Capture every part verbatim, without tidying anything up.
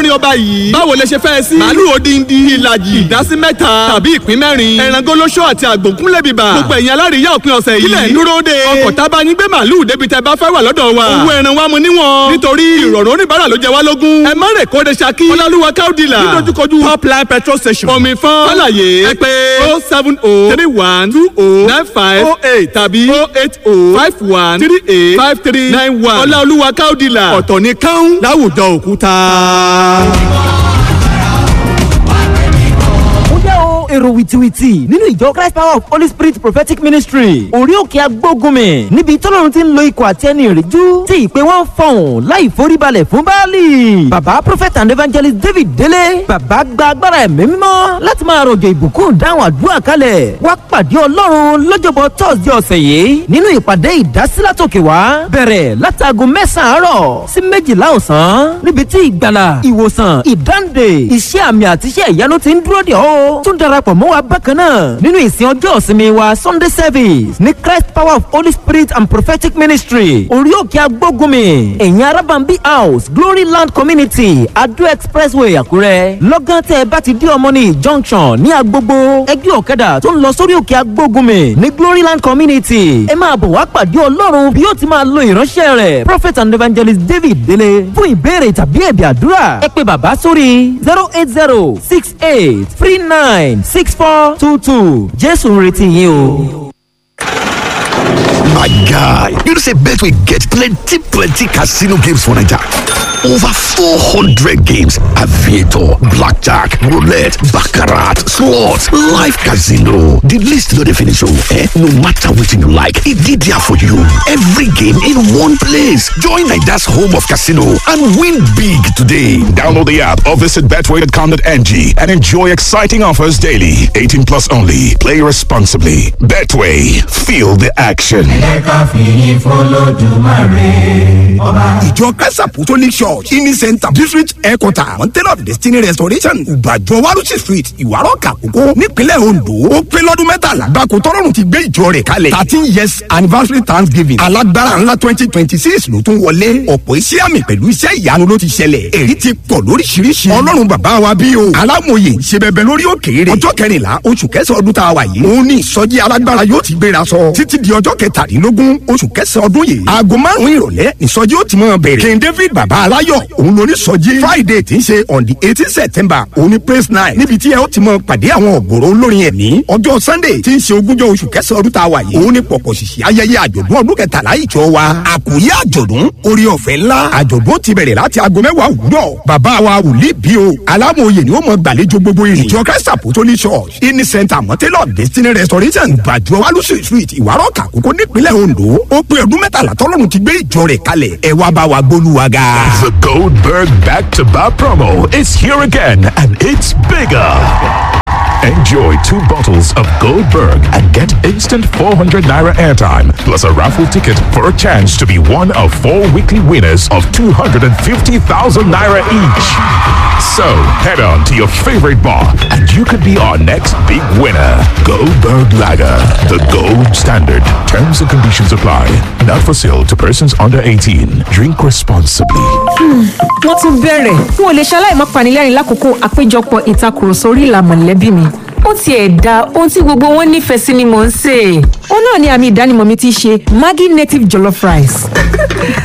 olórin ọba yìí. Báwo lẹ ṣe fẹ́ sí? Màálù odindi, ìlàjì, ìdásí mẹ́ta tàbí ìpín mẹ́rin. Ẹran gólóṣó àti àgbòkúnlẹ̀ bíbà. Gbogbo ẹ̀yin alárìíyá òpin ọ̀sẹ̀ yìí. Kílẹ̀ ń dúró de. Ọkọ̀ tábà yín gbé màálù débi tẹ bá fẹ́ wà lọ́dọ̀ wa. Owó ẹran wa mu níwọ̀n. Nítorí ìrọ̀rùn oníbàárà ló jẹ wá lógún. Ẹ má rè kóde Ṣakí. Ọlọ́lúwa káódìlà. Nídojúkojú Top Line petrol station. Omi fún. Fálàyé. Ẹ pè oh seven oh three one two oh nine five oh eight tàbí oh eight oh five one three eight five three nine one. Ọláolúwa káódìlà. Ọ̀tọ̀ ní káún láwùjọ òkúta. Ó yá o, èrò wìtìwìtì nínú ìjọ Christ Power of Holy Spirit Prophetic Ministry, orí òkè agbógunmi, níbi tọ́lọ́run ti ń lo ikọ̀ àti ẹni ìrìjú tí ìpè wọn fọ̀hún láì foríbalẹ̀ fún Báálì. Bàbá Prophet and Evangelist David Délé, bàbá gba agbára ẹ̀mí mímọ́ láti máa rọ̀jò ìbùkún dáhùn àdúrà kalẹ̀. Wá pàdé Ọlọ́run lọ́jọ́bọ̀ Thursday ọ̀sẹ̀ yìí nínú ìpàdé ìdásílátòkè wá, bẹ̀rẹ̀ látago mẹ́sàn-án àárọ̀ sí méjìlá ọ̀sán, níbi tí ìgbàlà, ìwòsàn, ìdáǹdè, iṣẹ́ àmì àti iṣẹ́ ìyanu ti ń dúró dè ọ́. Tún darapọ̀ mọ́ wa bákan náà nínú ìsìn ọjọ́ ìsinmi wa, Sunday service, ní Christ Power of Holy Spirit and Prophetic Ministry, orí òkè agbógunmi, ẹ̀yìn Arábàmbí House, Glory Land Community, Ado Expressway, Àkúrẹ́. Lọ́gán tẹ́ ẹ bá ti dé Ọmọnì Junction ní Agbogbo, ẹgbẹ́ ọ̀kadà tó ń lọ sórí òkè agbógunmi ní Glory Land Community. Ẹ máa bọ̀ wá pàdé Ọlọ́run bí yóò ti máa lo ìránṣẹ́ rẹ̀, Prophet and Evangelist David Délé. Fún ìbéèrè tàbí ẹ̀bì àdúrà, ẹ pè bàbá sórí zero eight zero six eight three nine six four two two. Jésù ń retí yín o. My guy, you know say Betway get plenty plenty casino games for Naija. Over four hundred games, aviator, blackjack, roulette, baccarat, slots, live casino. The list no dey finish oh, eh? No matter wetin you like, e dey there for you. Every game in one place. Join Naija's home of casino and win big today. Download the app or visit betway dot com dot N G and enjoy exciting offers daily. eighteen plus only. Play responsibly. Betway. Feel the action. Ẹ ká fìyìn f'Olódùmarè ọba. Ìjọ Christ Apostolic Church Ini Center, District Headquarter, Mountain of Destiny Restoration, Ìbàjọ́, Warusi Street, Ìwárọ̀kà Àkókó, nípínlẹ̀ Ondo, ó pé lọ́dún mẹ́tàlá gbáko tọ́lọ́run ti gbé ìjọ rẹ̀ kalẹ̀. Thirteen years anniversary thanksgiving alágbára ńlá twenty twenty six ló tún wọlé. Ọ̀pọ̀ iṣẹ́ àmì pẹ̀lú iṣẹ́ ìyanu ló ti ṣẹlẹ̀, èyí ti pọ̀ lóríṣiríṣi. Ọlọ́run bàbá wa bí o alámòye ṣe bẹbẹ lórí òkèèrè. Ọjọ́ kẹrìnlá oṣù kẹsàn-án ọdún tá a wà yìí, òun ní ìsọjí alágbára yóò ti gbéra sọ títí di ọjọ́ kẹtàdínlógún oṣù kẹsàn-án ọdún yìí. Aago márùn-ún ìrọ̀lẹ́ ìsọjí ó ti máa bẹ̀rẹ̀. King David bàbá aláyọ̀, òun lóní sọjí. Friday tí ń ṣe on the eighteen September, òun ní praise night, níbi tí ẹ ó ti máa pàdé àwọn ọ̀gọ̀rọ̀ olórin ẹ̀mí. Ọjọ́ Sunday tí ń ṣe ogúnjọ́ oṣù kẹsàn-án ọdún tá a wà yìí, òun ní pọ̀pọ̀ ṣìṣì ayẹyẹ àjọ̀dún ọdún kẹtàlá ìjọ wa. Àkòrí àjọ̀dún, orí ọ̀fẹ́ ńlá. Àjọ̀dún ti bẹ̀rẹ̀ láti aago mẹ́wàá òwúrọ̀. Bàbá wa wòlíì bí o alámòye ni ó mọ gbàlejò gbogbo ìrìn. Ìjọ Christ Apostolic Church Ini Center, Mountain of Destiny Restoration, Ìbàjọ́, Walusi Street, Ìwárọ̀kà Àkókó, nípínlẹ̀ Ondo, ó pé ọdún mẹ́tàlá tọ́lọ́run ti gbé ìjọ rẹ̀ kalẹ̀. Ẹ wá bá wa gbólúwa ga. The Goldberg Back to Back promo is here again and it's bigger. Enjoy two bottles of Goldberg and get instant four hundred naira airtime plus a raffle ticket for a chance to be one of four weekly winners of two hundred fifty thousand naira each. So head on to your favorite bar and you could be our next big winner. Goldberg Lager, the gold standard. Terms and conditions apply. Not for sale to persons under eighteen. Drink responsibly. Wọ́n tún bẹ̀rẹ̀, n ò lè ṣaláì má panilẹ́rìn lákòókò àpéjọpọ̀ ìtakùrọ̀sọ orí ìlà mọ̀lẹ́bí mi. Ó tiẹ̀ da ohun tí gbogbo wọn nífẹ̀ẹ́ sí ni mò ń sè é. Ó náà ni àmì ìdánimọ̀ mi ti ṣe Maggi native jollof rice.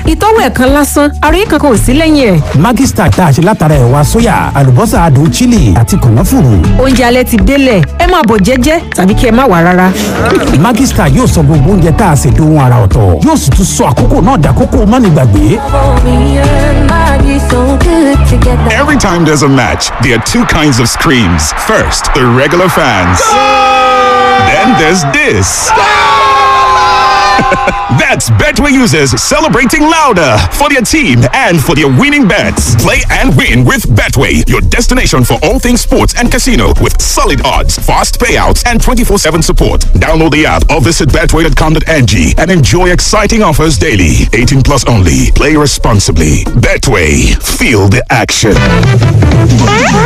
Ìtọ́wò ẹ̀kan lásán, àròyé kankan ò sí lẹ́yìn ẹ̀. Maggi Star tá a ṣe látara ẹ̀wà sóyà, àlùbọ́sà adùn chili àti kànáfùrù. Oúnjẹ alẹ́ ti délẹ̀, ẹ máa bọ̀ jẹ́jẹ́ tàbí kí ẹ má wà rárá. Maggi Star yóò sọ gbogbo oúnjẹ tá a ṣe dohun ara ọ̀tọ̀, yóò sì tún sọ àkókò náà dàkókò mánigbàgbé. Every time there's a match, there are two kinds of screams. First, the regular fans. Then there's this. That's Betway users celebrating louder for their team and for their winning bets. Play and win with Betway, your destination for all things sports and casino with solid odds, fast payouts, and twenty-four seven support. Download the app or visit betway dot com dot N G and enjoy exciting offers daily. eighteen plus only. Play responsibly. Betway, feel the action.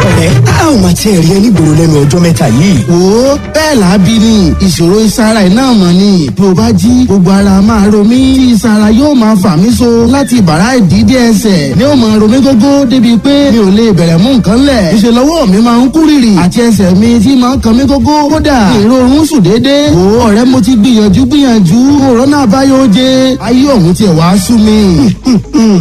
Ọ̀rẹ́, a ò máa tiẹ̀ rí ẹ nígboro lẹ́nu ọjọ́ mẹ́ta yìí. Wo, bẹ́ẹ̀ là á bí ni. Ìṣòro ìsara iná mọ̀ ni bí o bá jí gbogbo Gbogbo ara máa ro mí tí ìsara yóò máa fà mí so láti bàrá ìdídé ẹsẹ̀ ni ó máa ro mí gógó débi pé mi ò lè bẹ̀rẹ̀ mú nǹkan lẹ̀. Ìṣe lọ́wọ́ mi máa ń kú rìrì àti ẹsẹ̀ mi tí máa ń kan mí gógó. Kódà èrò oorun sùn déédéé. Wò ó ọ̀rẹ́ mo ti gbìyànjú gbìyànjú. Òrónà àbáyọ oje. Ayé òun tiẹ̀ wá sú mi.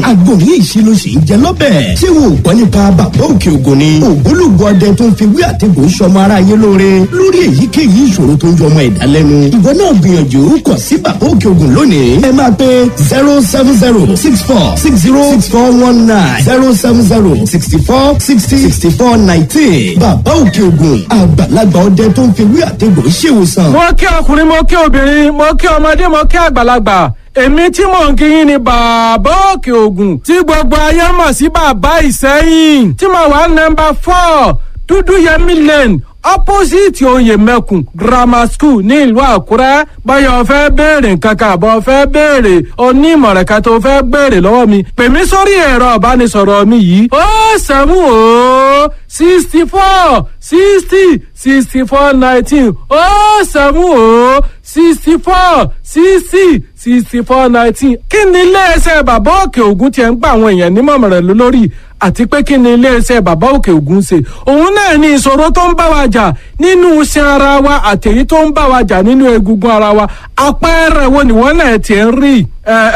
Àgbo yìí ṣe ló ṣe ń jẹ lọ́bẹ̀. Ṣé wo gbọ́ nípa bàbá òkè ògùn ni? Ògbólógbò ọdẹ tó ń fi wí àtẹ̀gùn sọmọ ara yé lóore lórí èyíkéyìí ìṣòro tó ń jọ ọmọ ẹ̀dá lẹ́nu. Ìwọ náà gbìyànjú kàn sí bàbá òkè ògùn lónìí. Ẹ máa pe zero seven zero six four six zero six four one nine zero seven zero sixty four sixty sixty four nineteen. Bàbá òkè ògùn àgbàlagbà ọdẹ tó ń fi wí àtẹ̀gùn ṣèwòsàn. Mo kí ọkùnrin, mo kí obìnrin, mo kí ọmọdé, mo kí àgbàlagbà. Èmi tí mò ń kíyìn ni bàbá òkè ògùn tí gbogbo ayé mọ̀ sí bàbá Ìsẹ́yìn, tí mo wà nọ́mbà four Dúdú Yẹmí Lane, opposite Oyè Mẹ́kùn Grammar School ní ìlú Àkúrẹ́. Báyọ̀ fẹ́ béèrè nǹkan kan àbọ̀ fẹ́ béèrè onímọ̀ràn kan tó fẹ́ béèrè lọ́wọ́ mi, pè mí sórí ẹ̀rọ ìbánisọ̀rọ̀ mi yìí: ó seven ó sixty four sixty sixty four nineteen, ó seven ó sixty four sixty sixty four nineteen. Kí ni iléeṣẹ́ bàbá òkè ògùn tiẹ̀ ń gba àwọn èèyàn nímọ̀ràn lórí, àti pé kí ni iléeṣẹ́ bàbá òkè ògùn ṣe? Òun náà ni ìṣòro tó ń bá wa jà nínú iṣan ara wa àtèyí tó ń bá wa jà nínú egungun ara wa. Àpẹẹrẹ wo ni wọ́n náà tiẹ̀ ń rí?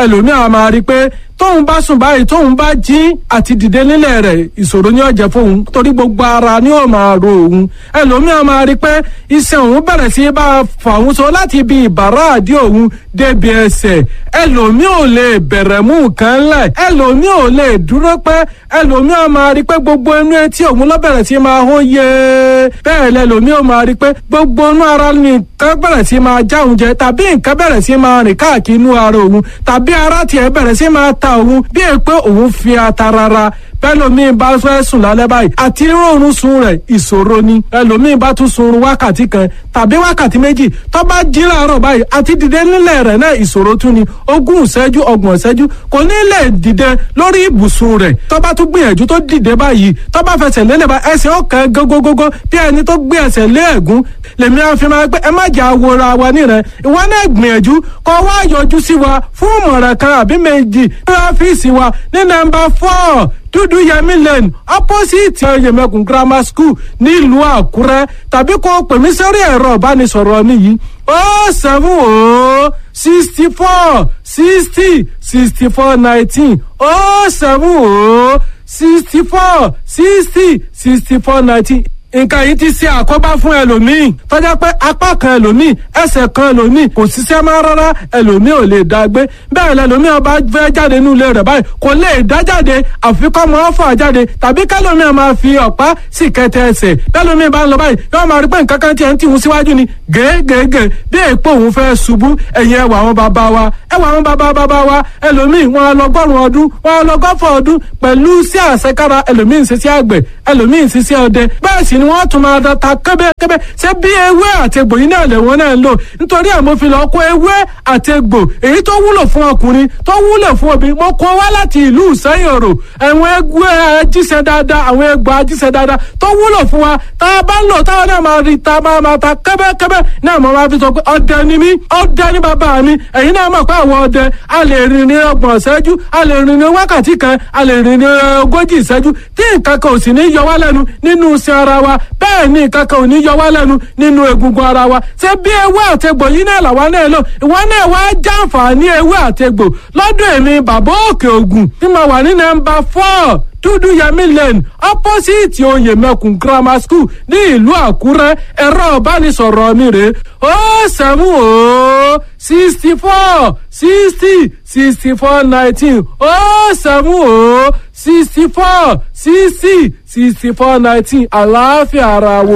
Ẹlòmíràn máa rí i pé tóun bá sùn báyìí, tóun bá jí, àti dìde nílẹ̀ rẹ̀ ìṣòro ní ọ̀jẹ̀ fóun, torí gbogbo ara ni ó máa ro òun. Ẹlòmíràn máa rí pé iṣan òun bẹ̀rẹ̀ sí bá a fà òun so láti ibi ìbàrá àdí òun débi ẹsẹ̀. Ẹlòmíì ò lè bẹ̀rẹ̀ mú nǹkan lẹ̀, ẹlòmíì ò lè dúró pẹ́. Ẹlòmíì máa rí pé gbogbo inú etí òun ló bẹ̀rẹ̀ sí máa hó yé. Bẹ́ẹ̀ lẹlòmíì ò máa rí pé gbogbo inú ara nìkan bẹ̀rẹ̀ sí máa já òun jẹ, tàbí nǹkan bẹ̀rẹ̀ sí máa rìn káàkiri inú ara òun, tàbí ara tiẹ̀ bẹ̀rẹ̀ sí máa ta òun bí è pé òun fi ata rárá. Bẹ́lòmíì bá fẹ́ sùn lálẹ́ báyìí, àti rọrùn sun rẹ̀ ìṣòro ni. Ẹlòmíì bá tún sunrun wákàtí kan tàbí wákàtí méjì, tó bá jí láàárọ̀ báyìí, àti dìde nílẹ̀ rẹ̀ náà ìṣòro tún ni. Ogún ìṣẹ́jú, ọgbọ̀n ìṣẹ́jú, kò ní lè dìde lórí ibùsùn rẹ̀. Tó bá tún gbìyànjú tó dìde báyìí, tó bá fẹsẹ̀ lélẹ̀ bá, ẹsẹ̀ ọ̀kan gógógógó bí ẹni tó gbé ẹsẹ̀ lé ẹ̀gún. Lèmi á fi máa pé ẹ má jà wora wa nírẹ̀. Ìwọ náà gbìyànjú kó wá yọjú sí wa fún ìmọ̀ràn kan àbí méjì ní ọ́fíìsì wa ní nọ́mbà four Dúdú Yẹmí Lane, opposite Oyèmẹkùn Grammar School nílùú Àkúrẹ́, tàbí kó pè mí sórí ẹ̀rọ ìbánisọ̀rọ̀ mi yìí: ó seven ó sixty four sixty sixty four nineteen, ó seven ó sixty four sixty sixty four nineteen. Nǹkan yìí ti ṣe àkóbá fún ẹlòmíì tọ́já pé apá kan ẹlòmíì, ẹsẹ̀ kan ẹlòmíì kò ṣiṣẹ́ mọ́ rárá, ẹlòmíì ò lè dá gbé bẹ́ẹ̀. Lẹlòmíì ọba fẹ́ jáde nínú ilé rẹ̀ báyìí, kò lè dá jáde, àfi kọ́ mọ́ fà jáde, tàbí kẹlòmíì máa fi ọ̀pá sì kẹtẹ ẹsẹ̀. Bẹ́lòmíì bá ń lọ báyìí, yóò máa rí pé nǹkan kan tiẹ̀ ń tìhun síwájú ni gègègè bí èèpo òun fẹ́ ṣubú. Ẹ̀yìn ẹwà àwọn bàbá wa, ẹwà àwọn bàbá bàbá wa, ẹlòmíì wọn lọgọ́rùn ọdún, wọn lọgọ́fọ̀ ọdún pẹ̀lú sí àṣekára. Ẹlòmíì ń ṣiṣẹ́ àgbẹ̀, ẹlòmíì ń ṣiṣẹ́ ọdẹ, bẹ́ẹ̀ sì ni wọ́n tún máa da ta kébékébé. Ṣé bí ewé àti egbò yìí náà lẹ̀wọ̀n náà ń lò? Nítorí ẹ̀ mo fi lọ kó ewé àti egbò èyí tó wúlò fún ọkùnrin, tó wúlò fún obìnrin, mo kó wá láti ìlú Ìsẹ́yìn Òrò. Àwọn egbò ajíṣẹ́ dáadáa, àwọn egbò ajíṣẹ́ dáadáa tó wúlò fún wa, tá a bá ń lò táwọn náà máa rí ta máa máa ta kébékébé náà. Mo máa fi sọ pé ọdẹ ni mí, ọdẹ ni bàbá mi. Ẹ̀yin náà mọ̀ pé àwọn ọdẹ a lè rìn ní ọgbọ̀n ìṣẹ́jú, a lè rìn ní wákàtí kan, a lè rìn ní ogójì ìṣẹ́jú, tí nǹkan kan ò sì ní yọ wá lẹ́nu nínú iṣan ara wa. Bẹ́ẹ̀ ni nǹkan kan ò ní yọ wá lẹ́nu nínú egungun ara wa. Ṣé bí ewé àtegbò yìí náà làwa náà lò? Ìwọ náà wá jàǹfààní ewé àtegbò lọ́dọ̀ èmi bàbá òkè ògùn tí mo wà ní nọ́mbà four Dúdú Yẹmí Lane, opposite Oyèmẹkùn Grammar School ní ìlú Àkúrẹ́. Ẹ̀rọ ìbánisọ̀rọ̀ mi rèé: ó seven ó sixty four sixty sixty four nineteen, ó seven ó sixty four sixty sixty four nineteen. Àlàáfíà ara wo.